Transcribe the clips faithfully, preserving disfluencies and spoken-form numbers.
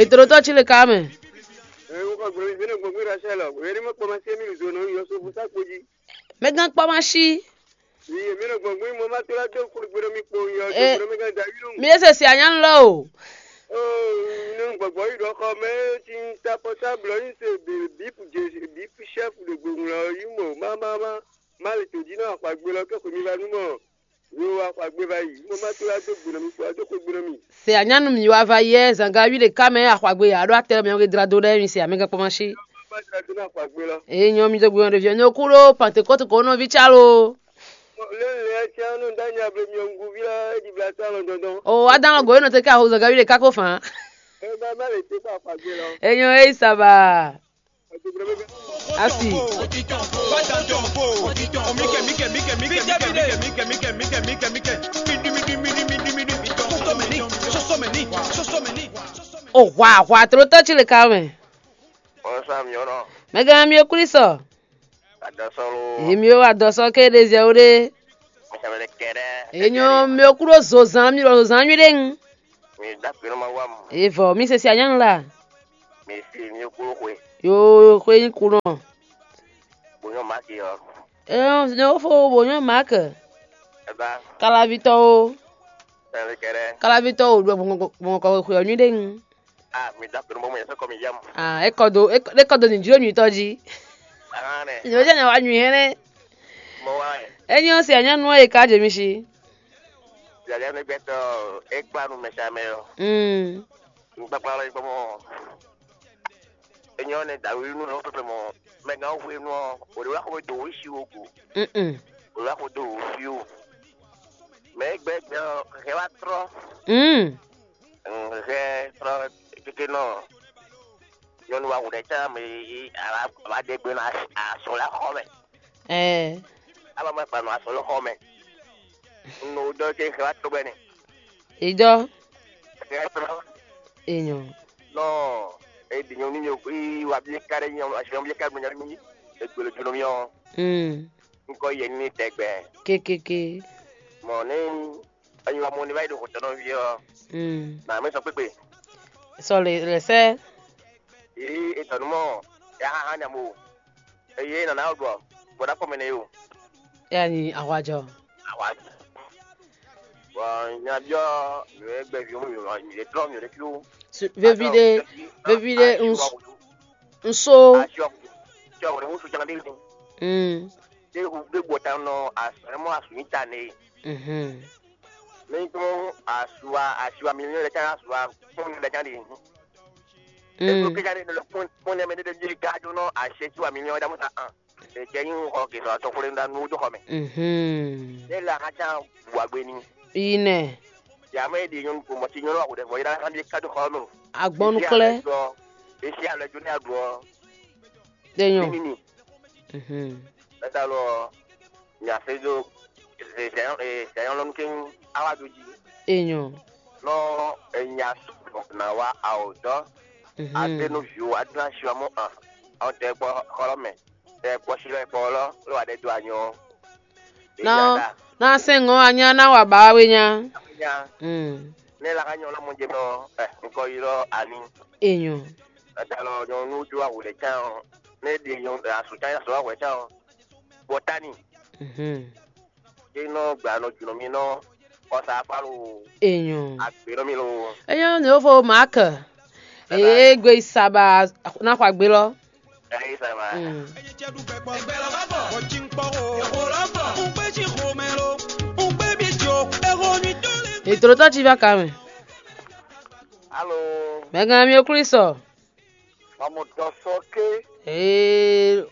Ètò tó tsi le ka mɛ. Ɛ, wokɔ gblɔ mi zɛnɛ gbɔngbɔn Rachel ɔ, wòye ní mɔ kpɔmɔ sí mi zɔn nɔ yɔ so fún sákpó jí. Mɛgán kpɔmɔ sí. Iye mi nɔ gbɔngbɔn mo ma tó la dó kó gbé mi kpo yɔ Ɛ, gbé mi gán da yúlù. Mi ese si anya lɔ o. Oh, nínú gbɔgbɔ yìí ɖɔ xɔ mɛ tí ń ta pɔtáblɔ yín se bípù jésù bípù chef de gbòngbò lɔ yí mɔ má má má má lè tòjí náà xɔ agbe lɔ kẹ́kọ̀ọ́ mi va nú mɔ. Yo wa xɔ agbe va yi mo ma tó la dó gbé mi kpo adó kó gbé mi. Se anya nu mi wa va yɛ zanga wi ɖeka mɛ axɔagbe ya ɖo atɛ mi ɔgɛ dra do ɖe mi se amɛgɛ kpɔmɔ si. Má tó la dó náà xɔ agbe lɔ. Eye nyɔ mi do gbé ɔn ɖevi ɔn nyɔ kú ɖo pantekɔtu ko nɔ vi tsalo. Lé lé ɛ tiã nú dá nya ble mi ɔngu vi la é di bla sá lɔ dɔndɔn. O wa dán lɔ go e nɔ te ká ho zanga wi ɖeka ko fan. Ɛ bá má lè té kó axɔagbe lɔ. Eye nyɔ eyi saba. Asi. O hwa hwa tlotɔ tsi le ka mɛ. Ɔsa miɔnɔ. Mɛgã mi o Kristo. Adɔsɔlo. Èmi o adɔsɔ ké ɖe zɛ o ɖe. Mɛsɛmɛlɛ kɛɖɛ. Ènyɔ mi o kúrò zozan mi ɖo zozan nyui ɖe ŋu. Mi dá pé nɔ ma wá mu. Evɔ mi se si anyanu la. Mi si mi o kúrò xwe. Yo xwe nyi kunɔ. Bonyɔ maki ɔ. Ɛ ne wo fo bonyɔ mak. Eba. Kalavitɔ o. Mɛsɛmɛlɛ kɛɖɛ. Kalavitɔ o ɖo gbɔngɔn kɔ xwe ɔ nyui ɖe ŋu. Ah, mi dá pé nɔ bɔ mo yɛ sɔkɔ mi yam. Ah, ekɔ do ekɔ do nìdílé nyuitɔ jí. Ahán nɛ. Nyɔ̌ jẹ́ nyɛ wá nyui hɛn nɛ. Mo wá ɛ. Enyi ɔ́ se anyá nú ɔ́ e ká jɛ mi sí. Yàrá mi gbɛtɔ ekpa nu mɛsàmɛ ɔ. Mm. Nukpakpa lɔ gbɔmɔ. Enyi ɔ́ nɛ dawi nu lɔ pɛpɛ mɔ mɛgán hwenu ɔ òde wá xɔ do wísi wo go. Mm. Òde wá xɔ do wísi wo. Mɛ gbɛgbɛ ɔ hɛ wá trɔ. Mm. Hɛ trɔ kéké nɔ nyɔnu wa hùn ɖɛ tsã mɛ yi ala ba de gbe na asɔ la xɔ mɛ. Ɛɛ. Aba ma kpa nɔ asɔ lɔ xɔ mɛ. No dɔ ke xɛ wa to bɛ ne. Idɔ. Xɛ wa to. Enyo. Nɔ e di nyɔnu nyɔ yi wa bi ka ɖe nyɔ asi bi ka ɖe nyɔ mi e gbele jɔnɔ mi ɔ. Mm. Nkɔ yɛ ni tɛgbɛ. Kekeke. Mɔ ne enyi wa mɔ ni va yi ɖo xɔtɔnɔ vi ɔ. Mm. Na mi sɔ kpekpe. Sɔ le le sɛ. Yi etɔnu mɔ ya ha ha nyamo. Eye nana ɔgbɔ bɔda kɔmɛ ne yo. Ya ni ahwajɔ. Awa. Bɔn nyabiɔ mi wɛ gbɛ vi mi wɛ mi wɛ trɔ mi wɛ fi wo. Vevi ɖe vevi ɖe nso. Asiɔ asiɔ wɛ ŋusu jan de. Mm. De hu de gbɔ ta nɔ asɛmɔ asu mi ta ne. Mhm. Mi tún asua asiwa mi lɛ can asua fún mi lɛ can de. Eko kíkà ní lọ fún fún ní ẹmẹ dédé bíi gájó náà àṣẹ tí wà mí ní ọjà mọ́ta hàn. Èjẹ yín ń họ kìsọ̀ àtọkùnrin ńlá nú ojú kọ mẹ. Mhm. Ní ilé akájá wà gbé ni. Ine. Yàmú èdè yín kò mọ̀ sí yín náà kò dẹ̀ fọ́ yín náà bí kájú kọ́ nù. Agbɔnukle. Èsì àlejò ní àdúrà. Denyo. Nínú. Mhm. Ẹ̀ta lọ ní àfẹ́jọ́ ìṣẹ̀yán lọ́nù kí n áwájú jí. Enyo. Nọ enya sɔgbɔ na wa awotɔ. Mhm. Atenu viwo aduna siwa mo an. Awo tɛ kpɔ xɔlɔ mɛ. Tɛ kpɔ si lɛ kpɔ lɔ lɔ wa ɖe do anyɔ. Na na sɛn ŋɔ anya na wa ba we nya. Nya. Mm. Ne la ka nyɔ lɔ mo je mɔ ɛ nkɔ yi lɔ ani. Enyo. Ata lɔ nyɔ nu jo awu le can. Ne di nyɔ asu can asu awu can. Bɔtani. Mhm. Ke nɔ gba nɔ junɔ mi nɔ kɔsa afa lo. Enyo. Agbe nɔ mi lo. Enyo ne wo fo Mark. Eye gbe saba na xɔ agbe lɔ. Ɛyi saba. Mm. Ètò tó ti bá ka mɛ. Alo. Mɛgàn mi o Kristo. Mamu dɔ sɔ ké. Ee,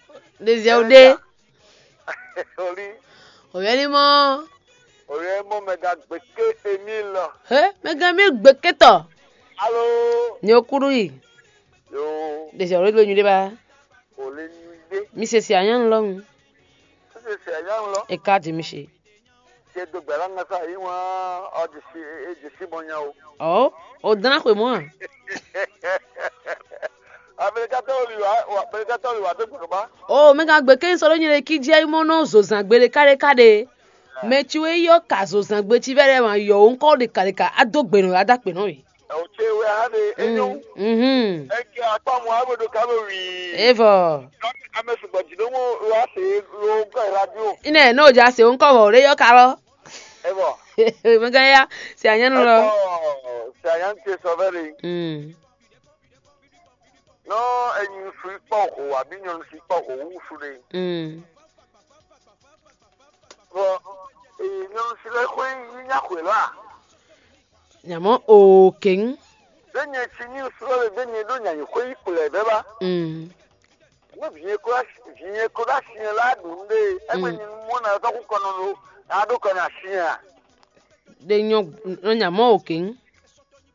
ɖeziɛ o ɖe. Oli. Oyɛ ni mɔ. Oyɛ mɔ mɛ ga gbeke emi lɔ. He, mɛgàn mi gbeke tɔ. Alo. Ni o kuru yi. Yo. Ɖeziɛ o ɖe do nyuɖe ba. Oli nyuɖe. Mi se si anya lɔ ŋu. Se se anya lɔ. E ka di mi se. Te do gbɛ la ŋa sa yi wan ɔ di si e di si bɔ nya o. Ɔ, o dana xwe mɔ a? Amerikatɔ wòle wa Amerikatɔ wòle wa do gbɛ ba. O mɛ ka gbe ke sɔ ɖo nyɛ ɖe ki jɛ mɔ nɔ zo zan gbe ɖe ka ɖe ka ɖe. Mɛ ci wɛ yɔ ka zo zangbe ci vɛ ɖe ma yɔ wo ŋkɔ ɖe ka ɖe ka ado gbe nɔ ada kpe nɔ yi. Ɛ o ce wɛ ha ɖe enyo. Mhm. Eke akpa mu abo ɖo ka bo wi. Evɔ. Ame sugbɔ dzi ɖo mo lo ase lo gɔ radio. Ine no ja se ŋkɔ vɔ ɖe yɔ ka lɔ. Evɔ. Mega ya se anyanu lɔ. Evɔ. Se anyanu te sɔ vɛ ɖe. Mm. Nɔ enyi su kpɔ ho abi nyɔnu si kpɔ ho wu su ɖe. Mm. Bɔ ee nyɔnu si lɛ xwe yi nya xwe lɔ a? Nyamɔ oo keng. Ɖe nyɛ si ní srɔ́ le ɖe nyɛ ɖo nya yi xwe yi kplɛ bɛ ba. Mm. Ne vinyɛ ko vinyɛ ko ɖo asi la ɖu nu ɖe. Egbe Mm. Nyi mɔ na tɔku kɔnɔ lo. A ɖo kɔnɔ asi a? Ɖe nyɔ nɔ nyamɔ oo keng.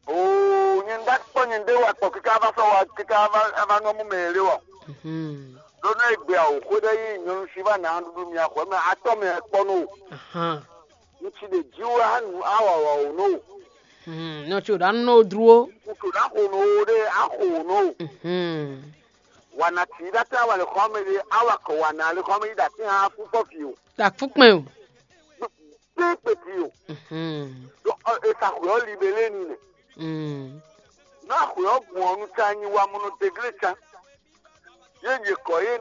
Oo, nyɛ ɖa kpɔ nyɛ ɖe wa kpɔ kika va sɔ wa kika va va nɔ mu mɛ le wɔ. Mhm. Ɖo nɔ egbe awo xwe ɖe yi nyɔnu si va na ɖuɖu mi axɔ mɛ atɔ mɛ kpɔ no. Ahan. Ŋutsu ɖe ji wa nu awa wa o no. Hmm, nɔ tso ɖa nɔ dro. Ŋutsu ɖa xo no ɖe axo no. Mhm. Wana ti ɖa ta wa le xɔ me ɖe awa kɔ wana le xɔ me yi ɖa ti hã fukpɔ fi o. Ta fukpɛ o. Kpekpe fi o. Mhm. Ɖo esa xwe ɔ libele ni nɛ. Mm. Nɔ axwe ɔ gbɔn ɔ nu ta nyi wa mɔnɔ degle ta. Ye nye kɔ ye na